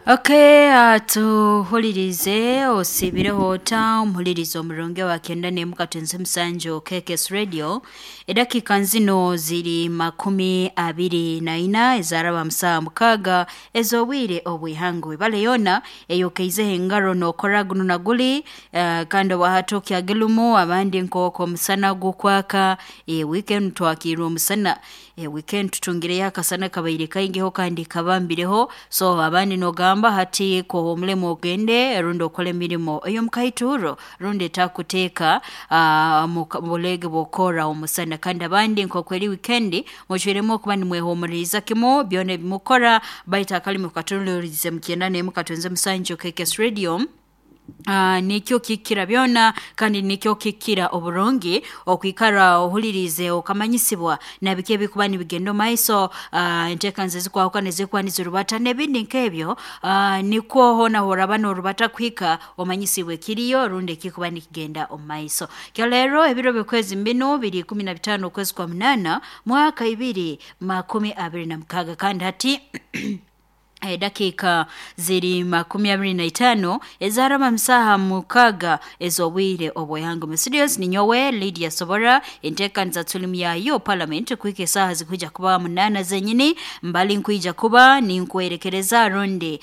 Okay, tuhulirize osiibireho ota omuhuliriza omurungi wa 97 KKS Radio. Edakika nzino ziri 24 ezaraba musaha 6 ez'obwire obw'ihangwe. Bale yona eyokeizeho engaro n'okora guno na guli kandi obwahati okyagilumu abandi nk'oku omusana gukwaka. Weekend twakiirwe omusana, weekend tutungireyo akasana kabaire kaingiho kandi kabambireho, so abandi n'ogamba hati kohumulemu ogende rundi okole emirimo ey'omukaituro rundi etakuteeka mu buleege bw'okukora omusana. Kandi abandi nk'oku eri weekend mucwiremu okuba nimwehumuliriza kimu byona ebimukora, baitu akalimi kukatunuliirize mu 97 KKS Radio. Nikyo kikira byona kandi nikyo kikira oburungi okwikara ohuliriize okamanyisibwa na biki ebikuba nibigenda omu maiso, enteekaniza ezikwahukana ezikuba nizirubata n'ebindi nk'ebyo, nikwo hoona horaba norubata kuhika omanyisibwe ekiriyo rundi ekikuba nikigenda omu maiso. Kyo leero ebiro by'okwezi binu biri 15 okwezi kwa 8 mwaka 2026 kandi hati edakiika ziri 25 ezaraba musaha 6 ez'obwire obw'ihangwe. Mu studios ninyowe Lydia Sobora. Enteekaniza tulimu yayo parliament kuhika esaaha zikwija kuba 8 zenyini, mbali nkwija kuba ninkwerekereza rundi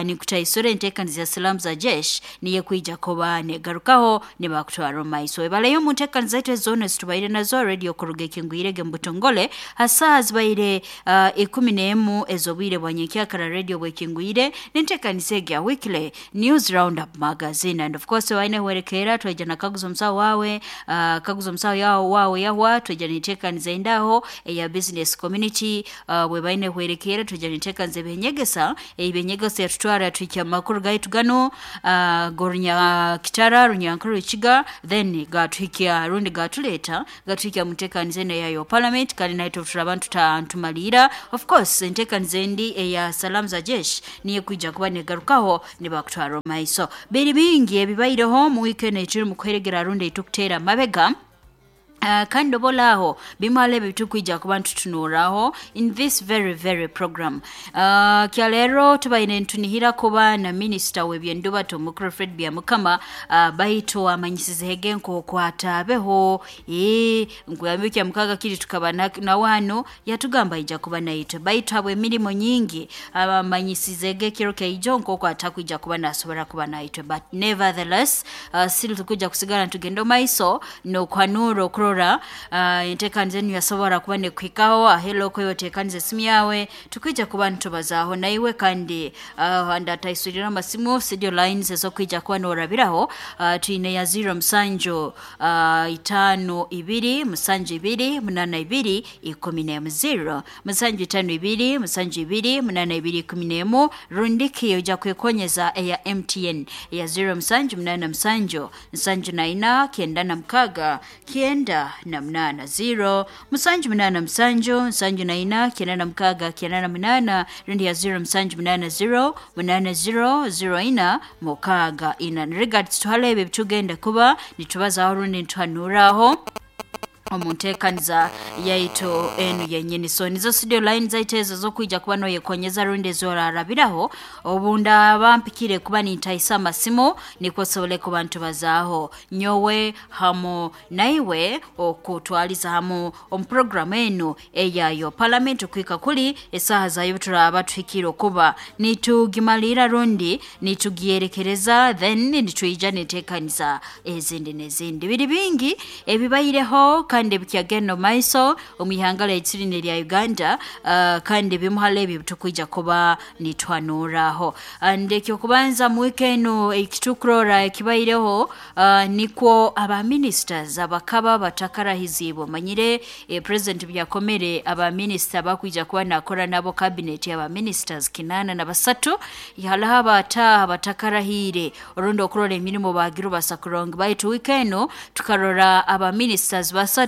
ninkutaisura enteekaniza ya Salaam za Jesh niyo kwija kuba negarukaho nibakutwara omu maiso. Ebaleyo omu nteekaniza zaitu ezoona ezitubaire nazo radio kuruga ekingwirege mu butongole ha saaha zibaire 11 ez'obwire bwa nyenkyakara radio bwekingwire n'enteekaniza egi ya weekly news roundup magazine. And of course waine hwerekeera twaija na kaguza omusaho wawe, kaguza omusaho wawe yahwa twaija n'enteekaniza endaho eya business community, bwebaine hwerekeera twaija n'enteekaniza ebyenyegesa, ebyenyegesa yatutwara yatuhikya mu makuru gaitu ganu g'orunyakitara runyankore rukiga, then gatuhikya rundi gatuleeta gatuhikya mu nteekaniza enu eyayo parliament. Kandi naitwe turaba ntumalira of course enteekaniza endi eya Salaam za Jesh niyo kwija kuba negarukaho nibakutwara omu maiso. Biri bingi ebibaireho mu weekend eturi mu kuheregera rundi etukuteera amabega. Kandi obolaaho bimwe ebi tukwija kuba ntutunuraho in this very very program. Kya leero tubaire ntunihira kuba na minisita w'ebyendubato omukuru Fred Byamukama, baitu amanyisizege nk'oku ataabeho. Nkuyambi kya mukaga kiri tukaba nawe hano yatugamba aija kuba naitwe, baitu habw'emirimo nyingi amanyisizege ekiro kyaijo nk'oku atakwija kuba nasobora kuba naitwe, but nevertheless still tukwija kusigara ntugenda omu maiso n'okuhanura okurora enteekaniza enu yasobora kuba nekuhikaho. Ahelo oteekaniza esimu yawe tukwija kuba nitubazaaho naiwe, kandi ndataisurira amasimu studio lines ezokwija kuba norabiraho. Twine ya 0 7 5 2 7 2 8 2 11 0 7 5 2 7 2 8 2 11, rundiki oja kwekonyeza eya MTN ya 0 7 8 7 7 4 96 98 0 7 8 7 7 4 96 98, rundi ya 0 7 8 0 8 0 0 4 6 4. Regards tuhalebe ebitugenda kuba nitubazaho rundi nituhanuraho omu nteekaniza yaitu enu yenyini. So nizo studio line zaitu ezo zokwija kuba noyekonyeza rundi ezorarabiraho obundaba mpikire kuba nintaisa amasimu nikwo sobole kuba ntubazaaho nyowe hamu naiwe okutwaliza hamu omu programu enu eyayo parliament kuhika kuli esaaha zayo turaba tuhikire okuba nitugimalira rundi nitugyerekereza, then nitwija niteekaniza ezindi n'ezindi. Biri bingi ebibaireho kandi bikyagenda omu maiso omu ihanga lyaitu linu erya Uganda, kandi bimu hali ebyo tukwija kuba nituhanuraho. And ekyokubanza mu wiiki enu ekitukurora ekibaireho, nikwo aba ministers abakaba batakarahiziibwe. Omanyire president byakomere aba minister bakwija kuba nakora nabo cabinet aba ministers 83, hariho abataaha batakarahiire orundi okurora emirimo bagire basa kurungi, baitu wiiki enu tukarora aba ministers 3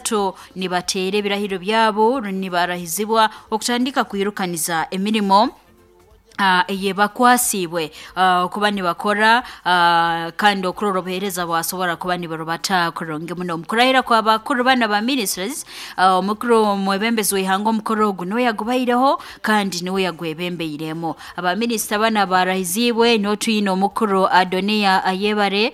nibateera ebirahiro byabo nibarahizibwa okutandika kwirukaniza emirimo. Eyebakwasiibwe okuba nibakora kandi okurora obuheereza bwasobora kuba niburubata kurungi muno. Omu kurahira kwa bakuru banu aba ministers, omukuru omwebembezi w'ihanga omukoro ogu niwe yagubaireho kandi niwe yagwebembeiremu. Aba minisita banu abarahiziibwe niho twine omukuru Adonia Ayebare,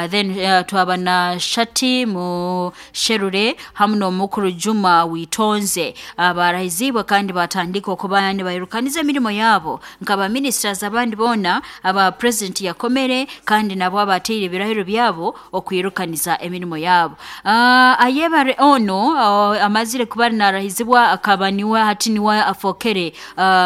then twaba na Shati Musherure hamu n'omukuru Juma Witonze abarahiziibwe kandi batandika okuba nibairukaniza emirimo yabo nk'aba ministers abandi boona aba president yakomere kandi nabo abateire ebirahiro byabo okwirukaniza emirimo yabo. Ayebare onu amazire kuba narahizibwa akaba niwe hati niwe afokere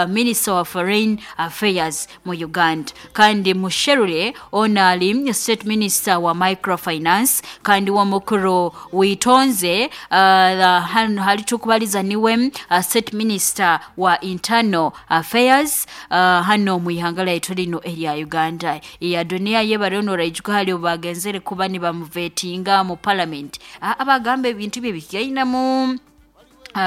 minister wa foreign affairs mu Uganda, kandi Musherure onu ali state minister wa microfinance, kandi we omukuru Witonze hanu hali tukubaliza niwe state minister wa internal affairs hanu omu ihanga lyaitu linu erya Uganda. Adonia Ayebare onu oraijuka hali obu bagenzere kuba nibamuvetinga mu parliament, abagamba ebintu bye bikyainamu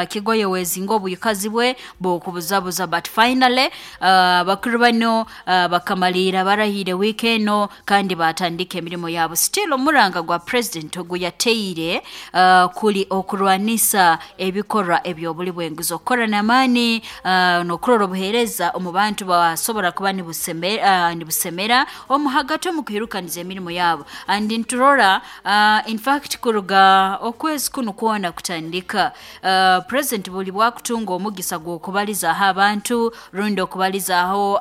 kigoye wezinga obwikazi bwe bw'okubuzabuza, but finally abakuru bano bakamaliira barahire wiiki eno kandi batandika emirimo yabo. Still omuranga gwa president ogu yateire kuli okurwanisa ebikorwa eby'obuli bw'enguzi, okukora n'amaani n'okurora obuheereza omu bantu basobora kuba nibusemera omu hagati omu kwirukaniza emirimo yabo. And niturora in fact kuruga okwezi kunu kwona kutandika, president buli bwakutunga omugisa gw'okubalizaaho abantu rundi okubalizaaho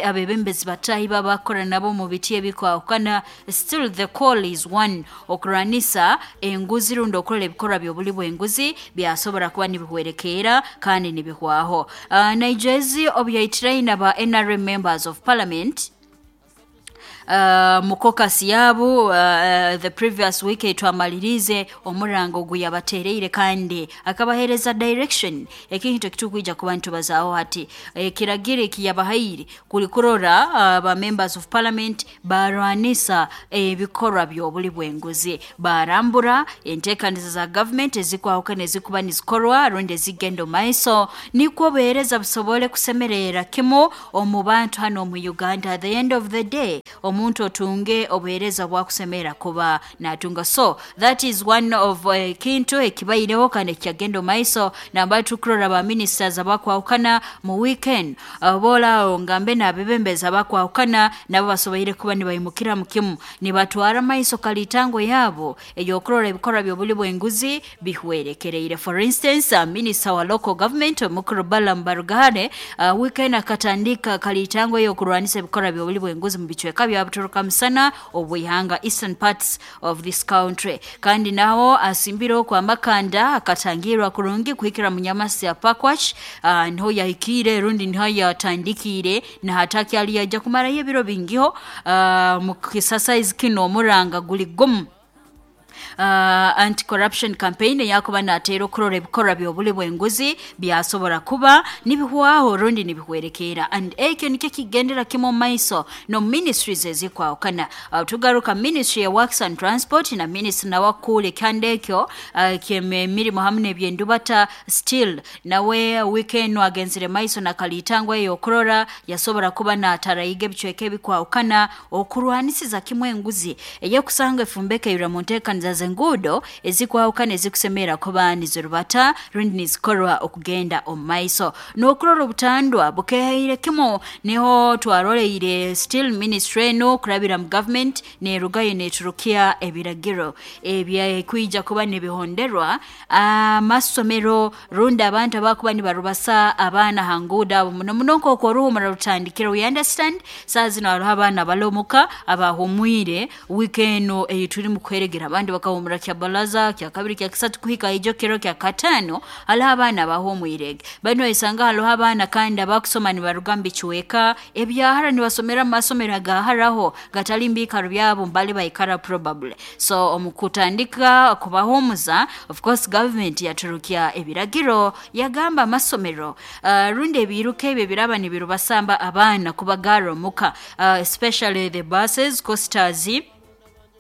abebembezi batahi babakora nabo omu biti ebikwahukana, still the call is one, okurwanisa enguzi rundi okurora ebikorwa by'obuli bw'enguzi byasobora kuba nibihwerekeera kandi nibihwaho. Naijezi obu yaitiraine aba NRM members of parliament mu caucus yabo the previous week etwamaliriize, omuranga ogu yabatereire kandi akabaheereza direction, ekintu ekitukwija kuba nitubazaaho hati. Ekiragiro eki yabahaire kuli kurora ba members of parliament barwanisa ebikorwa by'obuli bw'enguzi, barambura enteekaniza za government ezikwahukana ezikuba nizikorwa rundi ezigenda omu maiso, nikwo obuheereza busobole kusemerera kimu omu bantu hanu omu Uganda. At the end of the day omuntu otunge obuheereza bwakusemera kuba natunga. So that is one of ekintu ekibaireho kandi ekyagenda omu maiso nambari tukurora ba ministers abakwahukana mu weekend, boolaaho ngambe n'abebembezi abakwahukana nabo basoboire kuba nibaimukira mu kimu nibatwara maiso kalitango yabo ey'okurora ebikorwa by'obuli bw'enguzi bihwerekereire. For instance, minister wa local government omukuru Balaam Barugahare weekend akatandika kalitango ey'okurwanisa ebikorwa by'obuli bw'enguzi mu bicweka bya Buturuka Musana obw'ihanga, eastern parts of this country, kandi naho asimbire okwo amakanda akatangirwa kurungi kuhikira Munyamasi ya Pakwach, niho yahikiire rundi niho yatandikiire nahataki yaija kumarayo ebiro bingiho mu kisasaizi kinu. Omuranga guli gumu, anti-corruption campaign eyakuba nateera okurora ebikorwa by'obuli bw'enguzi byasobora kuba nibihwaho rundi nibihwerekeera, and ekyo nikyo kigendera kimu omu maiso no ministries ezikwahukana. Tugaruka ministry ya works and transport na minisita nawe akuura ekihanda ekyo ky'emirimo hamu n'ebyendubata, still nawe weekend agenzire maiso nakalitango ey'okurora yasobora kuba natarayiga ebicweka ebikwahukana okurwanisiza kimu enguzi eyekusanga efumbekeirwe mu nteekaniza z'enguudo ezikwahukana ezikusemera kuba nizirubata rundi nizikorwa okugenda omu maiso n'okurora obutandwa bukehaire kimu. Niho twaroleire still ministry eno kurabira mu government nerugayo neturukya ebiragiro ebyakwija kuba nibihonderwa amasomero rundi abantu abakuba nibarubasa abaana ha nguudo abo, muno muno nk'oku oruhumura rutandikire. We understand saa zino hariho abaana balomuka abahumwire wiiki eno ei turimu kuheregera, abandi bakahumura kya balaza kya kabiri, kya kisatu, kuhika ijo kiro kya kataano. Hariho abaana abahumwirege banu, oisanga hariho abaana kandi abakusoma nibaruga mu bicweka ebyahara, nibasomera mu masomero agaharaho gatali mu biikaro byabo mbali baikara probably. So omu kutandika kubahumuza, of course government yaturukya ebiragiro yagamba amasomero rundi ebiiruka ebyo biraba nibirubasamba abaana kubagarra omuka, especially the buses, coasters.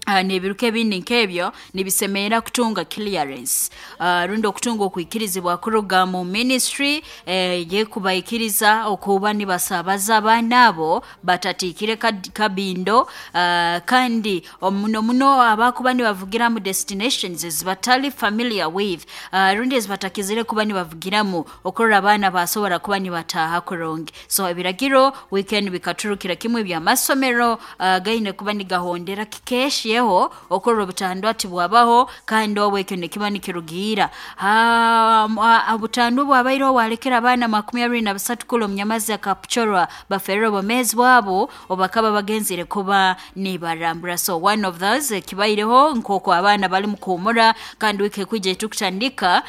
N'ebiruka ebindi nk'ebyo nibisemerera kutunga clearance, rundi okutunga okwikirizibwa kuruga mu ministry yekubaikiriza okuba nibasabaza abaana abo batatiikire kabindo, kandi muno muno abakuba nibavugira mu destinations ezibatali familiar with, rundi ezibatakizire kuba nibavugiramu, okurora abaana basobora kuba nibataaha kurungi. So ebiragiro weekend bikaturukira kimwe by'amasomero, gaine kuba nigahondera kikeesheho okurora obutandwa tibwabaho, kandi obu ekyo nikiba nikirugiira obutandwa bwabaireho bwalekera abaana 23 kula omunyamazi akapchorwa baferera obwomeezi bwabo obakaba bagenzire kuba nibarambura. So one of those ekibaireho nk'oku abaana bali mukuhumura, kandi wiiki ekwija etukutandika,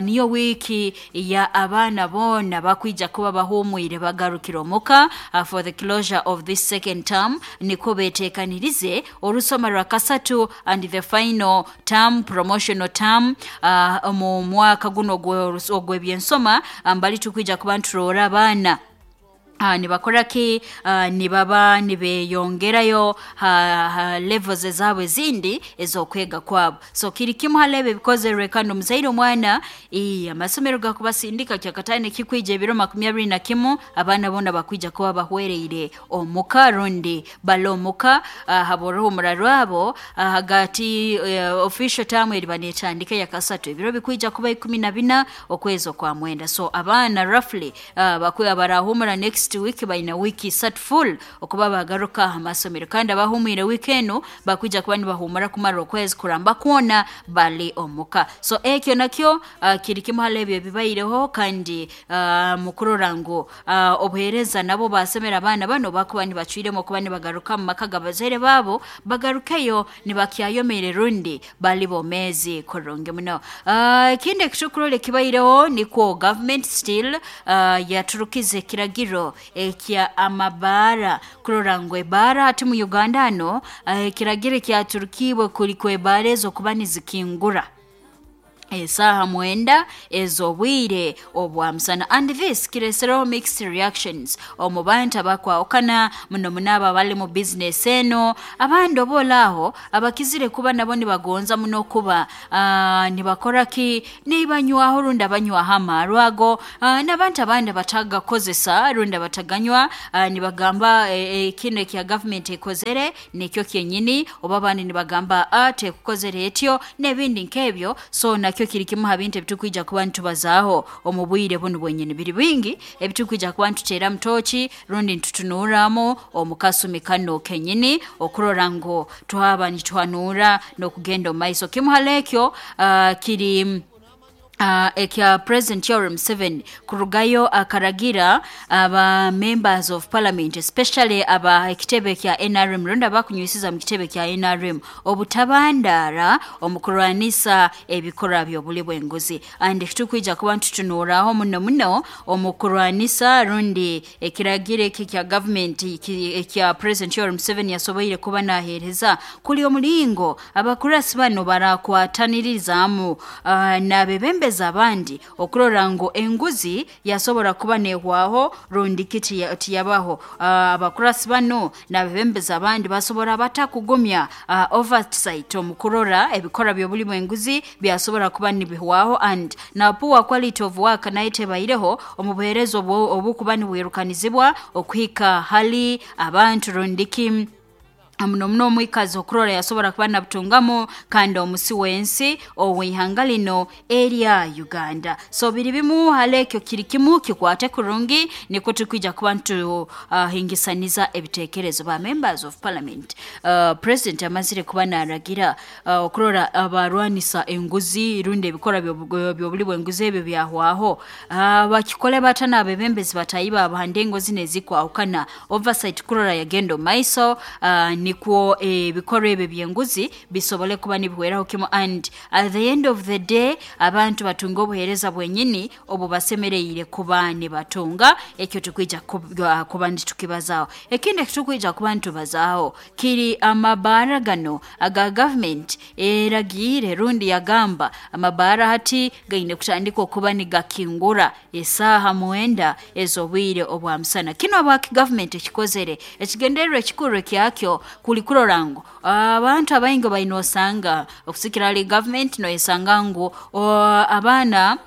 niyo wiiki ya abaana boona bakwija kuba bahumwire bagarukire omuka, for the closure of this second term, nikwo beteekanirize orusoma rwa kasatu and the final term, promotional term, omu mwaka guno ogw'ebyensoma. Mbali tukwija kuba nituroora abaana nibakora ki, nibaba nibeyongerayo ha levels ezaabo ezindi ez'okwega kwabo. So kiri kimu hali ebyo ebikozerwe, kandi omuzaire omwana amasomero gakubasindika kyakataano ekikwija ebiro 21, abaana boona bakwija kuba bahwereire omuka rundi bali omuka, habw'oruhumura rwabo hagati, official term eriba netandika yakasatu ebiro bikwija kuba 14 okwezi okwa mwenda. So abaana roughly, bakwe abarahumura next week baina wiiki 3 full okuba bagaruka aha masomero, kandi abahumwire wiiki enu bakwija kuba nibahumura kumara okwezi kuramba kwona bali omuka. So ekyo nakyo, kiri kimu hali ebyo ebibaireho, kandi mukurora ngu obuheereza nabo basemera abaana bano bakuba nibacwiremu okuba nibagaruka mu maka g'abazaire baabo, bagarukeyo nibakyayomeire rundi bali bomeezi kurungi muno. Ekindi ekitukurora ekibaireho nikwo government still yaturukize ekiragiro ekya amabaara, kurora ngu ebaara hati mu Uganda hano, ekiragiro ekyaturukiibwe kuli kw'ebaara ezo kuba nizikingura esaaha 9 ez'obwire obwa musana, and this kiresereho mixed reactions omu bantu abakwahukana, muno muno abo abali mu business eno. Abandi oboolaaho abakizire kuba nabo nibagonza muno kuba nibakora ki, nibanywaho rundi abanywaho amaarwa ago, n'abantu abandi abatagakozesa rundi abataganywa, nibagamba kino ekya government ekozere nikyo kyenyini, oba abandi nibagamba tekukozere etyo n'ebindi nk'ebyo. So nakyo kiri kimu ha bintu ebitukwija kuba nitubazaaho omu bwire bunu bwenyini. Biri bingi ebitukwija kuba nituteera mutoki rundi nitutunuuramu omu kasumi kano kenyini, okurora ngu twaba nituhanuura n'okugenda omu maiso. Kimu hali ekyo, kiri ekya President Yoweri Museveni kurugayo akaragira aba members of parliament, especially aba ekitebe kya NRM rundi abakunywisiza mu kitebe kya NRM, obutabandaara omu kurwanisa ebikorwa by'obuli bw'enguzi. And tukwija kuba nitutunuuraho muno muno omu kurwanisa rundi ekiragiro eki ekya government ekya President Yoweri Museveni yasoboire kuba naheereza kuli omulingo abakurasi bano barakwatanirizamu n'abebembezi abandi okurora ngu enguzi yasobora kuba nehwaho rundi ki tiyabaho. Abakurasi bano n'abebembezi abandi basobora batakugumya oversight omu kurora ebikorwa by'obuli bw'enguzi byasobora kuba nibihwaho, and na poor quality of work nayo tebaireho omu buheereza obukuba nibwirukanizibwa okuhika hali abantu rundiki muno muno omwikazi okurora yasobora kuba nabutungamu, kandi omusi w'ensi ow'ihanga lino erya Uganda. So biri bimu hali ekyo kiri kimu kikwate kurungi, nikwo tukwija kuba nituhingisaniza ebiteekerezo ba members of parliament. President amazire kuba naragira, okurora abarwanisa enguzi rundi ebikorwa by'obuli bw'enguzi ebyo byahwaho, bakikole bata n'abebembezi batayi baabo ha ndengo zino ezikwahukana, oversight kurora yagenda omu maiso, nikwo ebikorwa ebyo by'enguzi bisobole kuba nibihweraho kimu, and at the end of the day abantu batunga obuheereza bwenyini obu basemereire kuba nibatunga. Ekyo tukwija kuba nitukibazaho. Ekindi ekitukwija kuba nitubazaaho kiri amabaara gano aga government eragiire rundi yagamba amabaara hati gaine kutandika okuba nigakingura esaaha 9 ez'obwire obwa musana. Kino abaki government ekikozere ekigendererwa ekikuru ekyakyo Kuli kurora ngu abantu abaingi baine osanga okusikira hali government noyesanga ngu abaana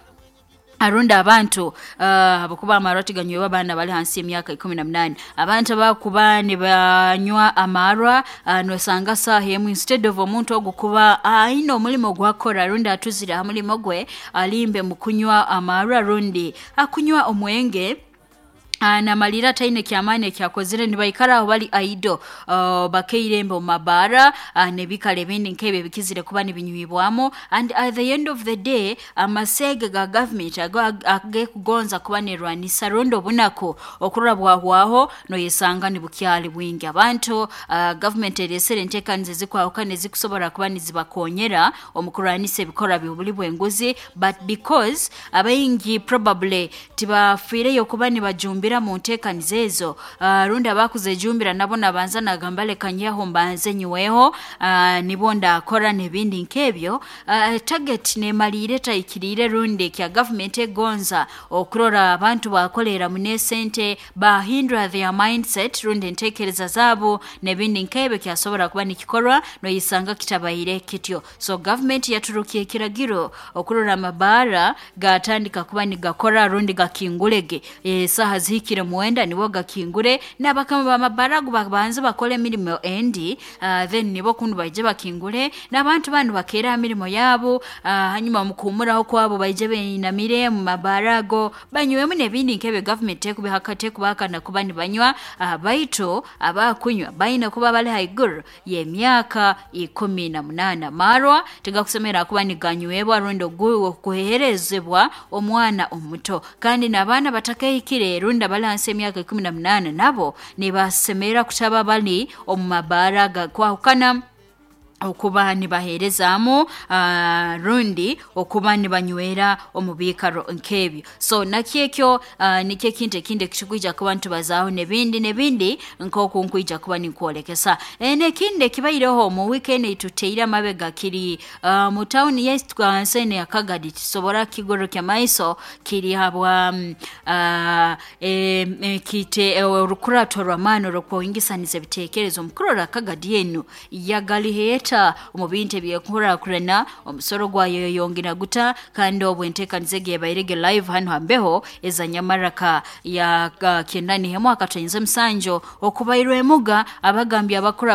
arundi abantu habwokuba amarwa tiganywebwa abaana bali hansi y'emyaka 18. Abantu abakuba nibanywa amarwa, nosanga saaha emu instead of omuntu ogu kuba aine omulimo gwakora rundi atuzire ha mulimo gwe, alimbe mu kunywa amarwa rundi akunywa omwenge, namalira ataine kyamaani ekyakozere, nibaikara aho bali idle, bakeirembe omu mabaara n'ebikaro ebindi nk'ebyo ebikizire kuba nibinywibwamu. And at the end of the day, amaseege ga government agekugonza kuba nerwanisa rundi obunaku okurora bwahwaho, noyesanga nibukyali bwingi. Abantu, government eresere entekaniza ezikwahukana ezikusobora kuba nizibakonyera omu kurwanisa ebikorwa by'obuli bw'enguzi, but because abaingi probably tibafiireyo kuba nibajumbira mu ntekaniza ezo, rundi abakuzejumbira nabo nabanza nagamba leka nyeho mbanze nyweho, nibo ndakora n'ebindi nk'ebyo, target nemaliire etahikiriire rundi ekya government egonza okurora abantu bakolera muno esente, bahindura their mindset rundi entekereza zaabo n'ebindi nk'ebyo kyasobora kuba nikikorwa, noyesanga kitabaire kityo. So government yaturukia ekiragiro okurora amabaara gatandika kuba nigakora rundi gakingulege esaaha zihikire 9 nibo gakingure, n'abakama b'amabaara ago babanze bakole emirimo endi, then nibo kunu baije bakingure, n'abantu banu bakeere ha mirimo yaabo, hanyuma mukuhumuraho kwabo baije beinamire mu mabaara ago banywemu n'ebindi nk'ebyo. Government tekubahakana kuba nibanywa, baitu abakunywa baine kuba bali haiguru y'emyaka 18. Amarwa tigakusemera kuba niganywebwa rundi okuheerezebwa omwana omuto, kandi n'abaana batakahikire rundi abali hansi y'emyaka 18 nabo nibasemera kutaba bali omu mabaara gakwahukana okuba nibaheerezaamu, rundi okuba nibanywera omu biikaro nk'ebyo. So nakyo ekyo, nikyo ekintu ekindi ekitukwija kuba nitubazaaho n'ebindi n'ebindi nk'oku nkwija kuba ninkwolekesa. N'ekindi ekibaireho mu weekend eituteire amabega kiri mu tawuni yaitu hansi enu ya Kagadi, tusobora kukigororokya maiso, kiri habwa kite orukurato rw'amaani orw'okwingisaniza ebiteekerezo omu kurora Kagadi enu yagaliheeta omu bintu eby'enkurakurana, omusoro gwayo yongera guta, kandi obu entekaniza egi ebairege live hanu hambeho eza Nyamaraka ya 91.7 okubairwe emuga abagambye abakuru.